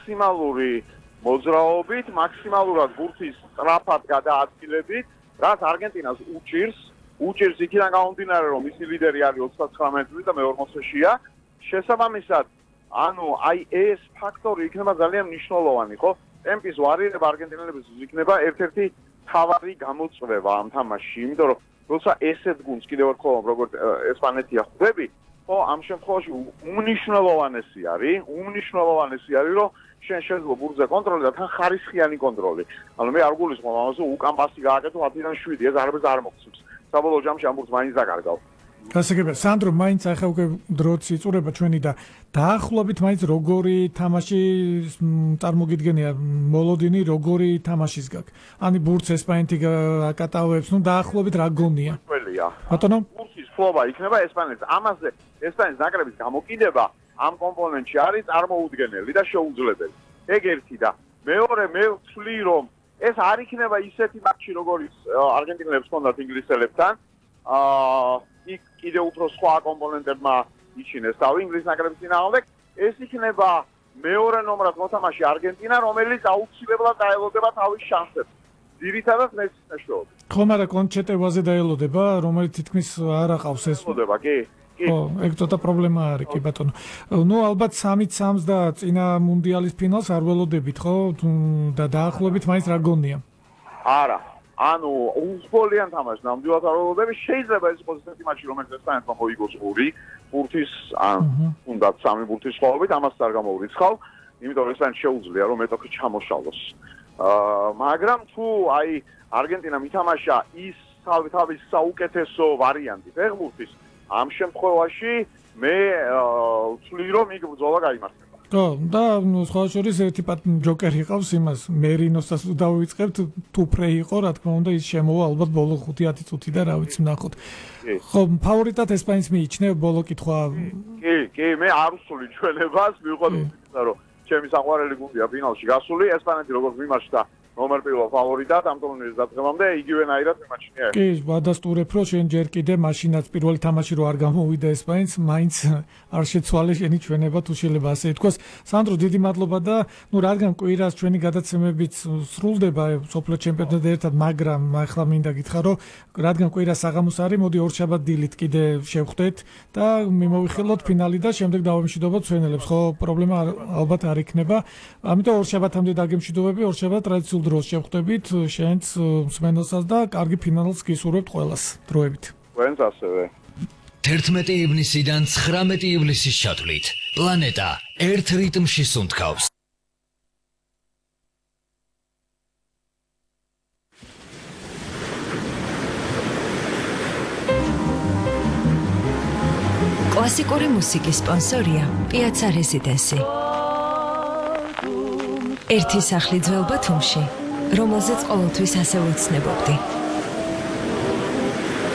მაქსიმალური მოძრაობით, მაქსიმალურად ბურთის სწრაფად გადაადგილებით, რაც არგენტინას უჭირს იქიდან გამომდინარე, რომ მისი ლიდერი არის 39 წლის და მე 40-ია. შესაბამისად, ანუ აი ეს ფაქტორი იქნება ძალიან მნიშვნელოვანი, ხო? ტემპის ვარირება არგენტინელების იქნება ერთ-ერთი თავარი გამოწვევა ამ თამაშში, იმიტომ რომ როცა ესეთ გუნდს კიდევ ერთხელ როგორც ესპანეთია ხვდები, ხო, ამ შემთხვევაში უმნიშვნელოვანესი არის, რომ შენ შეიძლება ბურთზე კონტროლი და თან ხარისხიანი კონტროლი. ანუ მე არ გულისხმობ ამაზე უკან პასი გააკეთო 10-დან 7, ეს არაფერს არ მოგცემს. საბოლოო ჯამში ამ ბურთს მაინც დაკარგავ. გასაგებია, სანდრო, მაინც ახლა უკვე დროც იწურება ჩვენი და დაახლოებით მაინც როგორი თამაში წარმოგიდგენია მოლოდინი, როგორი თამაშის გაქვს. ანუ ბურთს ესპანეთი აკატავებს, ნუ დაახლოებით რა გონია? ბატონო, ბურთის ფლობა იქნება ესპანეთს. ამაზე ესპანეთის ნაკრების გამოკიდება ამ კომპონენტში არის წარმოუდგენელი და შეუძლებელი. ეგ ერთი და მეორე მე ვთვლი რომ ეს არ იქნება ისეთი მატჩი როგორიც არგენტინელებს ჰქონდათ ინგლისელებთან. იქ კიდევ უფრო სხვა კომპონენტებმა იჩინეს თავი ინგლისის ნაკრების წინააღმდეგ. ეს იქნება მეორე ნომრად მოთამაშე არგენტინა, რომელიც აუცილებლად დაელოდება თავის შანსებს. ძირითადად მეცის მეშვეობით. ხომ არა კონჩეტევაზე დაელოდება, რომელიც თითქმის არ აყავს ეს. ელოდება, კი. ო, ეგ ცოტა პრობლემა არის, კი ბატონო. ნუ ალბათ 3-3 და წინა მუნდიალის ფინალს არ ველოდებით, ხო? და დაახლოებით მაინც რა გონია? არა. ანუ უხმოვან თამაშს ნამდვილად არ ველოდები, შეიძლება ეს იყოს ესეთი მატჩი, რომელიც ესპანეთმა მოიგოს 2 ბურთის, ან თუნდაც 3 ბურთის სხვაობით, ამას არ გამოურიცხავ, იმიტომ რომ ესპანეთს შეუძლია რომ მეტოქი ჩამოშალოს. მაგრამ თუ აი არგენტინამ ითამაშა ის თავის საუკეთესო ვარიანტი ფეხბურთის, ამ შემთხვევაში მე ვთვლი რომ იქ ბრძოლა გაიმართება. ხო, და სხვა შორის ერთი ჯოკერი ყავს იმას, მერინოსაც დავიწყებთ, თუ ფრეი იყო, რა თქმა უნდა, ის შემოვა ალბათ ბოლო 5-10 წუთი და რა ვიცი ნახოთ. ხო, ფავორიტად ესპანეთს მიიჩნევ ბოლო კითხვა. კი, მე არ ვსული ჩვენებას, მიუხედავად იმისა, რომ ჩემი საყვარელი გუნდია ფინალში გასული, ესპანეთი როგორც მიმარჩდა ნომერ 1 ფავორიტად ამ ტურნირის დაწყებამდე იგივენაირად მიმაჩნია. კი, ვადასტურებ, რომ შენ ჯერ კიდე მაშინაც პირველი თამაში რო არ გამოვიდა ესპანეთს, მაინც არ შეცვალე შენი ჩვენება, თუ შეიძლება ასე ითქვას. სანდრო, დიდი მადლობა და ნუ რადგან კვირას ჩვენი გადაცემებიც სრულდება სოფლიო ჩემპიონატთან ერთად, მაგრამ ახლა მინდა გითხრა, რომ რადგან კვირას საღამოს არის, მოდი ორშაბათ დილით კიდე შევხვდეთ და მიმოვიხილოთ ფინალი და შემდეგ დავემშვიდობოთ ჩვენელებს. ხო, პრობლემა ალბათ არ იქნება. ამიტომ ორშაბათამდე დაგემშვიდობები, ორშაბათ ტრადიციულ დროს შევხვდებით შენც მსმენელსაც და კარგი ფინალს გისურვებთ ყველას დროებით. თქვენც ასევე. 11 ივნისიდან 19 ივლისის ჩათვლით პლანეტა ერთ რიტმში სუნთქავს. კლასიკური მუსიკის სპონსორია პიაცა რეზიდენსი. ერთი სახლი ძველ ბათუმში, რომელზეც ყოველთვის ასე ვუცნებობდი.